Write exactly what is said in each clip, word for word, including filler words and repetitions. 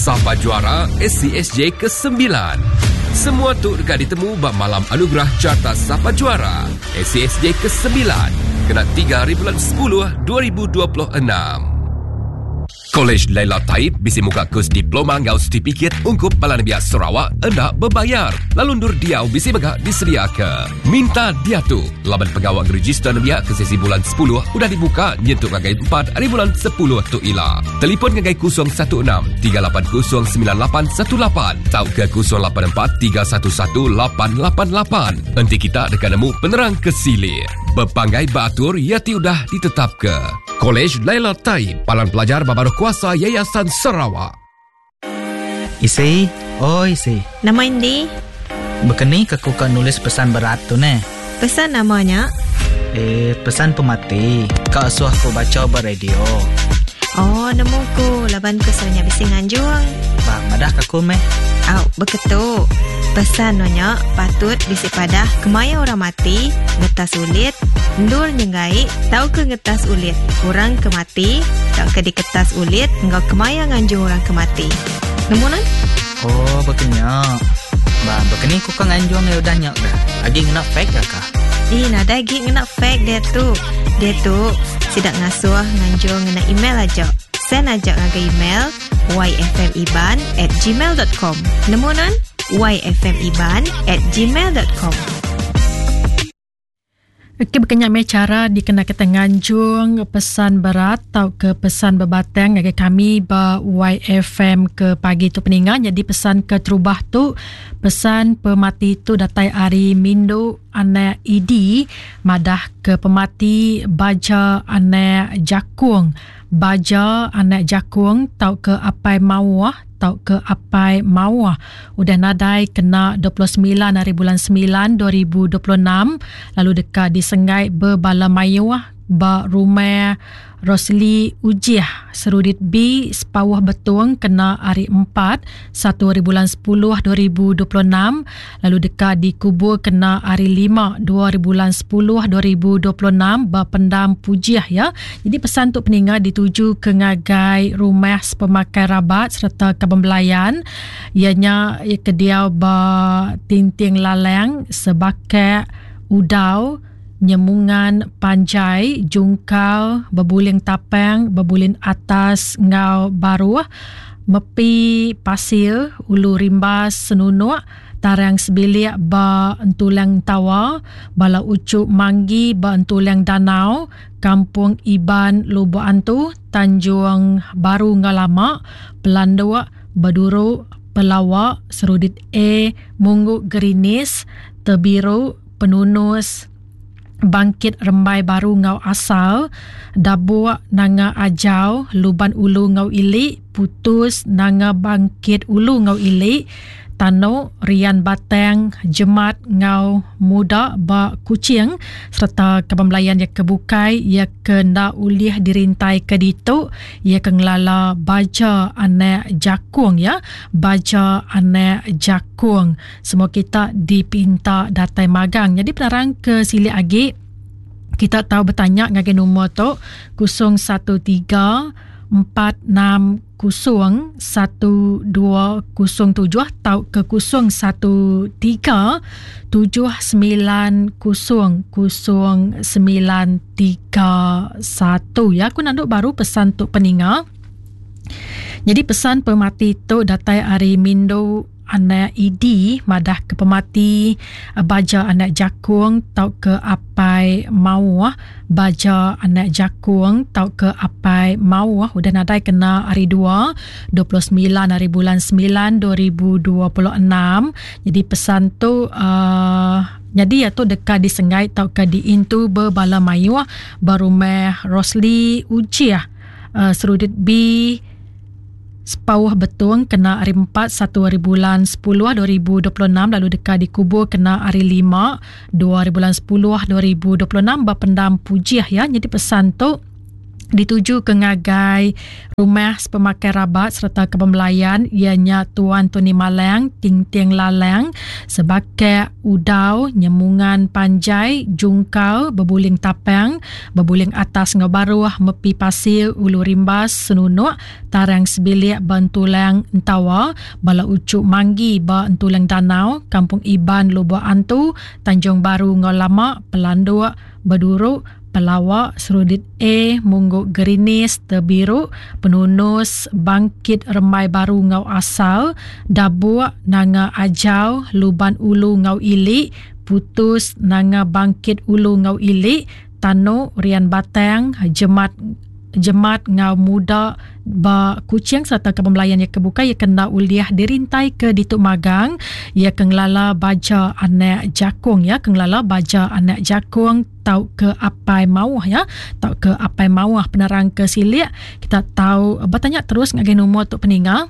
Sapa juara S C S J kesembilan? Semua tu dekat ditemu bak malam anugerah carta Sapa Juara S C S J kesembilan kena tiga hari bulan sepuluh dua ribu dua puluh enam. Kolej Laila Taib bisi muka kus diploma ngau sertifikat ungkup Balan Biak Sarawak endak berbayar. Lalu ndur diau bisi megak disediaka. Minta dia tu. Laban pegawai register nembiak ke sesi bulan sepuluh udah dibuka nyentuk ngagai empat hari bulan sepuluh tu ila. Telefon ngagai kosong satu enam tiga lapan kosong sembilan lapan satu lapan tau ke kosong lapan empat tiga satu satu lapan lapan lapan. Enti kita dekat nemu penerang ke sili. Berpanggai beratur ia ti udah ditetap ke. Kolej Laila Taib, Palan Pelajar Babaruh Kuasa Yayasan Sarawak. Isi, oi isi. Nama Indi? Bekeni ke ku ka nulis pesan berat tu ne? Pesan namanya? Eh, pesan pemati. Kak suah ku baca ber radio. Oh, nemu ku laban ku sonya bisi nganjung. Bang, madah ka ku meh. Au, beketu. Pesan nonya patut bisi padah kemaya orang mati, ngetas ulit, ndur nyengai, tau ke ngetas ulit. Orang ke mati, tau ke diketas ulit, ngau kemaya nganjung orang ke mati. Nemu nan? Oh, bekenya. Ba, bekeni ku ka nganjung ya udah nyak dah. Agi ngena fake dah kah? Ih, nadai agi ngena fake dia tu. Dia tu sidak ngasuh nganjung ngena email aja. Send aja ngagai email y f m iban at gmail dot com. Nemu nan? y f m iban at gmail dot com. Okey, berkenyak me cara dikena kita nganjung pesan berat atau ke pesan berbatang ngagai kami ba Y F M ke pagi tu peningan. Jadi pesan ke terubah tu, pesan pemati tu datai ari Mindu anak I D madah ke pemati baja anak jakung. Baja anak jakung tau ke apai mawah tau ke apai mawah udah nadai kena dua puluh sembilan hari bulan sembilan dua ribu dua puluh enam lalu dekat disenggai berbala mayuh ba rumah Rosli Ujih Serudit B Sepawah Betung kena hari empat satu hari bulan sepuluh dua ribu dua puluh enam lalu dekat dikubur kena hari lima dua hari bulan sepuluh dua ribu dua puluh enam ba pendam Pujih ya. Jadi pesan untuk peninga dituju ke ngagai rumah sepemakai rabat serta kebembelayan ianya ia kediau ba Tinting Lalang Sebakek Udau Nyemungan Panjai Jungkal Bebuling Tapang Bebuling Atas Ngau Baruh Mepi Pasir Ulu Rimbas Senunuk Tarang Sebilik ba Entulang Tawa Bala Ucuk Manggi ba Entulang Danau Kampung Iban Lubuk Antu Tanjung Baru Ngau Lama Pelanduk Beduruk Pelawak Serudit A Mungguk Gerinis Tebiru Penunus Bangkit Rembai Baru Ngau Asal Dabuk Nanga Ajau Luban Ulu Ngau Ilik Putus Nanga Bangkit Ulu Ngau Ilik Tanuk Rian Batang Jemat Ngau Muda ba Kuching serta kebembelayan ya ke bukai ya ke nda ulih dirintai ke ditu ya ke ngelala baja anak jakung ya baja anak jakung semua kita dipinta datai magang. Jadi penerang ke silik agi kita tahu bertanya ngagai nombor tu kosong satu tiga empat enam kosong satu dua kosong tujuh atau ke kosong satu tiga tujuh sembilan kosong kosong sembilan tiga satu ya. Aku nanduk baru pesan tuk peninga. Jadi pesan pemati tu datai ari Mindo anak I D madah ke pemati baja anak jakung tau ke apai mawah baja anak jakung tau ke apai mawah udah nadai kena hari dua dua puluh sembilan hari bulan sembilan dua ribu dua puluh enam. Jadi pesan tu uh, jadi ya tu dekat disenggai tau ke diintu berbala mayuh berumah Rosli Ujiah uh, Serudit B Sepauh Betung kena hari empat satu hari bulan sepuluh dua ribu dua puluh enam lalu dekat dikubur kena hari lima dua hari bulan sepuluh dua ribu dua puluh enam bapendam Pujih ya. Jadi pesan tu Dituju ke ngagai rumah sepemakai rabat serta kepembelayan ianya Tuan Tony Malang, Ting Ting Lalang, Sebakek Udau, Nyemungan Panjai, Jungkal, Bebuling Tapang, Bebuling Atas Ngau Baruh, Mepi Pasir, Ulu Rimbas, Senunuk, Tarang Sebilik, Bantulang Entawa, Bala Ucuk Manggi, Ba Entulang Danau, Kampung Iban, Lubuk Antu, Tanjung Baru Ngau Lama, Pelanduk, Beduruk, Pelawak, Serudit A, Mungguk Gerinis, Terbiru, Penunus, Bangkit Rembai Baru Ngau Asal, Dabuk, Nanga Ajau, Luban Ulu Ngau Ilik, Putus, Nanga Bangkit Ulu Ngau Ilik, Tanuk, Rian Batang, Jemat Jemat Ngau Muda ba Kuching serta ke pembelayan yang kebuka ia kena uliah dirintai ke dituk magang ia kengelala baja anak jakung ya kengelala baja anak jakung tau ke apai mauh ya tau ke apai mauh penerang ke silik kita tahu bertanya terus ngagai nombor tok peninga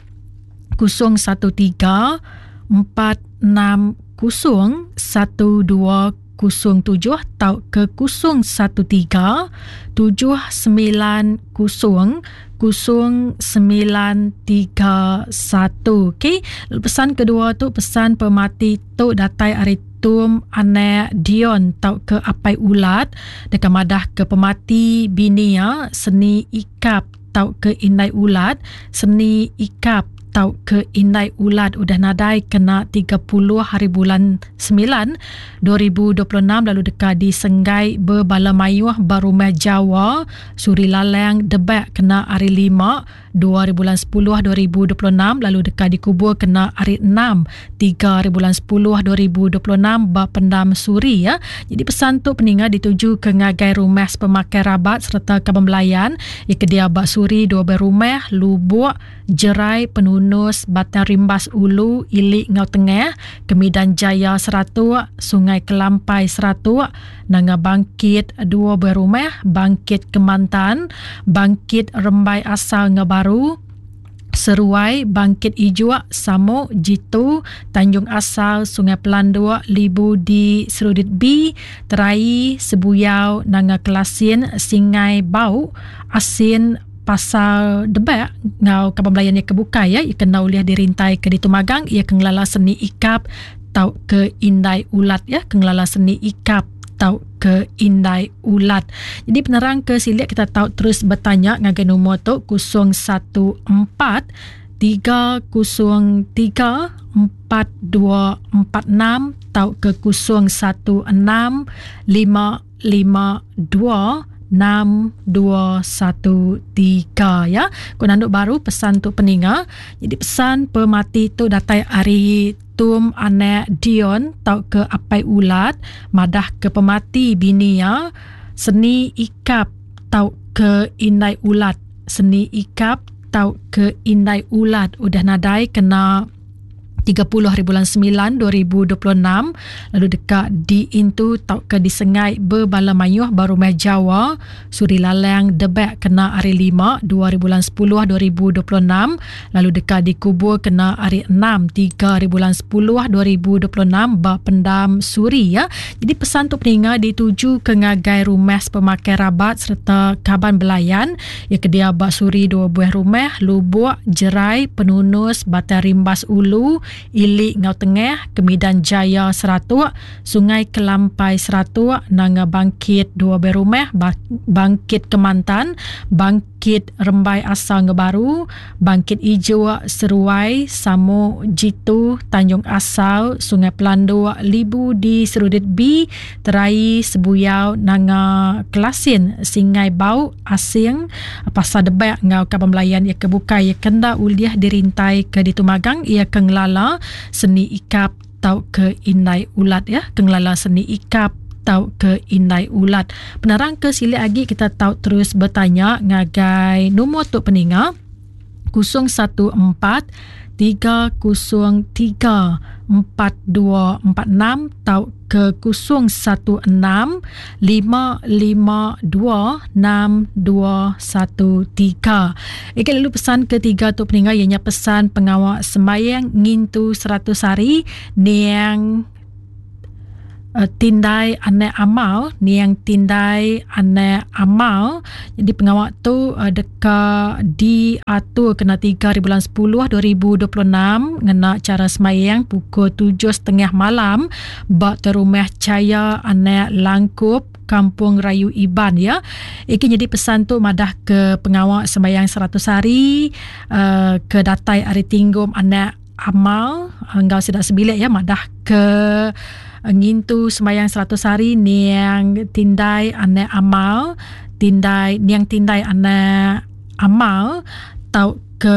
kosong satu tiga empat enam kosong satu dua kosong tujuh tau ke kosong satu tiga tujuh sembilan kosong kosong sembilan tiga satu. Okey, pesan kedua tu pesan pemati tu datai ari Tum anak Dion tau ke apai ulat dekat madah ke pemati bini ya seni ikap tau ke indai ulat seni ikap tau ke indai ulat udah nadai kena tiga puluh hari bulan sembilan dua ribu dua puluh enam lalu dekat di Senggai berbala mayuh barumah Jawa Suri Lalang Debak kena hari lima dua hari bulan sepuluh dua ribu dua puluh enam lalu dekat dikubur kena hari enam tiga hari bulan sepuluh dua ribu dua puluh enam ba Pendam Suri ya. Jadi pesan tu peninga dituju ke ngagai rumah pemakai rabat serta kebembelayan ya kedia ba Suri dua berumah Lubuk Jerai Penunus Batang Rimbas Ulu Ilik Ngau Tengah Kemidan Jaya Seratuk Sungai Kelampai Seratuk Nanga Bangkit dua berumah Bangkit Kemantan Bangkit Rembai Asal Ngau Baru Seruai Bangkit Ijuak Samok Jitu Tanjung Asal Sungai Pelanduk Libu di Serudit B Terai Sebuyau Nanga Kelasin Singai Bau Asin Pasal Debak ngau kaban belayan yang kebuka ya ia kena uliah dirintai ke ditumagang ia kengelala seni ikap tau ke indai ulat ya kengelala seni ikap tau ke indai ulat. Jadi penerang ke silik kita tahu terus bertanya ngagai nombor tu kosong satu empat tiga kosong tiga empat dua empat enam tau ke kosong satu enam lima lima dua enam dua satu tiga ya. Ku nanduk baru pesan tu peninga. Jadi pesan pemati tu datai ari Tum anak Dion tau ke apai ulat madah ke pemati bini ya seni ikap tau ke indai ulat seni ikap tau ke indai ulat udah nadai kena tiga puluh hari bulan sembilan dua ribu dua puluh enam lalu dekat di intu tau ke disengai berbala mayuh barumah Jawa Suri Lalang Debak kena hari lima dua hari bulan sepuluh dua ribu dua puluh enam lalu dekat dikubur kena hari enam tiga hari bulan sepuluh dua ribu dua puluh enam ba Pendam Suri ya. Jadi pesan tu peninga dituju ke ngagai rumah pemakai rabat serta kaban belayan ya kedia ba Suri dua buah rumah Lubuk Jerai Penunus Batang Rimbas Ulu Ilik Ngau Tengah Kemidan Jaya Seratuk Sungai Kelampai Seratuk Nanga Bangkit dua berumah Bangkit Kemantan Bangkit Rembai Asal Ngau Baru Bangkit Ijo Seruai Samo Jitu Tanjung Asal Sungai Pelanduk Libu di Serudit B Terai Sebuyau Nanga Kelasin Singai Bau Asing Pasar Debak Ngau Kaban Belayan ia kebuka ia kenda uliah dirintai ke ditumagang ia kengelala seni ikap tau ke indai ulat ya kengelala seni ikap tau ke indai ulat. Penerang ke silik lagi kita tahu terus bertanya ngagai nombor tok peninga kosong satu empat tiga kosong tiga empat dua empat enam tau ke kosong satu enam lima lima dua enam dua satu tiga. Okey, lalu pesan ketiga tu peninggal ianya pesan pengawal sembahyang ngintu seratus hari niang uh, Tindai Anak Amal, niang Tindai Anak Amal. Jadi pengawak tu uh, deka diatur kena tiga hari bulan sepuluh dua ribu dua puluh enam ngena cara semayang pukul tujuh setengah malam bak terumah Caya Anak Langkup Kampung Rayu Iban ya. Iki jadi pesan tu madah ke pengawak sembayang seratus hari uh, ke datai hari tinggum Anak Amal enggau sedak sebilik ya, madah ke ngintu sembayang seratus hari niang Tindai Anak Amal, Tindai niang Tindai Anak Amal tau ke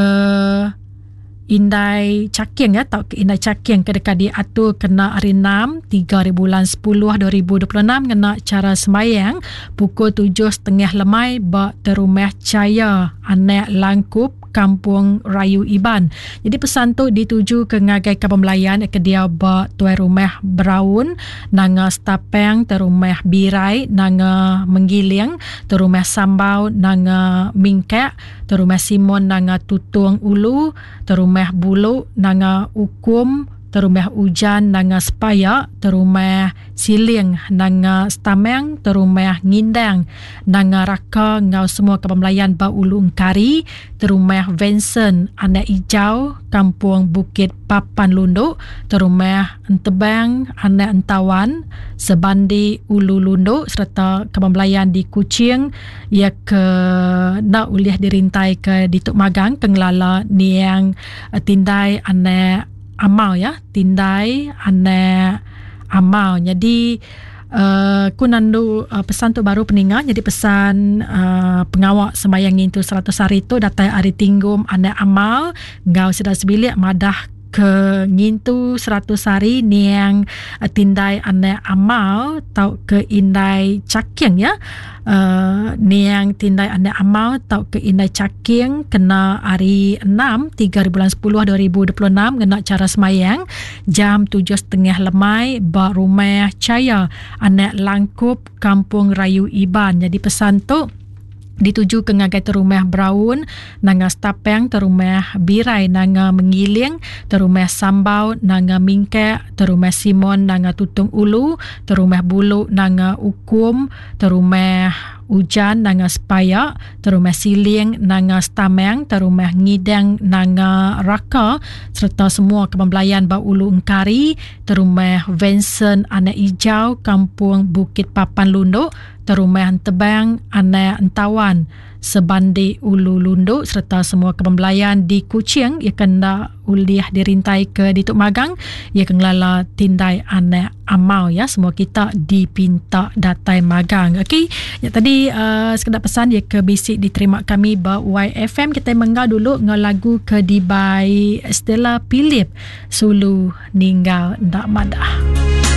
Indai Caking ya, tau ke Indai Caking ke dekat diatur kena hari enam tiga hari bulan sepuluh dua ribu dua puluh enam ngena cara sembayang pukul tujuh setengah lemai ba terumah Caya Anak Langkup Kampung Rayu Iban. Jadi pesan tu dituju ke ngagai kaban melayan ke dia ba tuai rumah Braun, nanga Stapeng, terumah Birai, nanga Menggiling, terumah Sambau, nanga Mingkak, terumah Simon, nanga Tutung Ulu, terumah Bulu, nanga Ukum, terumah Ujan, nanga Sepaya, terumah Siling, nanga Stameng, terumah Ngindang, nanga Raka, ngau semua kaban melayan ba Ulu Engkari, terumah Vincent, Anak Ijau, Kampung Bukit Papan Lunduk, terumah Entebang, Anak Entawan, Sebandi Ulu Lunduk, serta kaban melayan di Kuching, ia ke nak uliah dirintai ke Dituk Magang, Kengelala Niang Tindai Anak Amal ya, Tindai Anak Amal. Jadi uh, ku nandu uh, pesan tu baru peninga. Jadi pesan uh, pengawak sembayang ngintu seratus hari tu datai hari tinggum Anak Amal ngau sedar sebilik madah ke ngintu seratus hari niang uh, Tindai Anak Amal tau ke Indai Caking ya. Uh, niang Tindai Anak Amal tau ke Indai Caking kena hari enam tiga hari bulan sepuluh dua ribu dua puluh enam ngena cara semayang jam tujuh setengah lemai ba rumah Caya Anak Langkup Kampung Rayu Iban. Jadi pesan tu dituju ke ngagai terumah Braun, nanga Stapeng, terumah Birai, nanga Menggiling, terumah Sambau, nanga Mingkak, terumah Simon, nanga Tutung Ulu, terumah Bulu, nanga Ukum, terumah Ujan, nanga Sepaya, terumah Siling, nanga Stameng, terumah Ngidang, nanga Raka, serta semua kebelayan ba Ulu Engkari, terumah Vincent, Anak Ijau, Kampung Bukit Papan Lunduk, terumah Entebang, Anak Entawan, Sebandi Ulu Lunduk, serta semua kebelayan di Kuching ia kena uliah dirintai ke Dituk Magang, ia kengelala Tindai Anak Amal ya. Semua kita dipinta datai magang. Okey, ya tadi uh, sekedar pesan ia ke bisik diterima kami ba Y F M. Kita menggau dulu ngau lagu ke dibai Stella Philip, Sulu Ninggal Ndak Madah.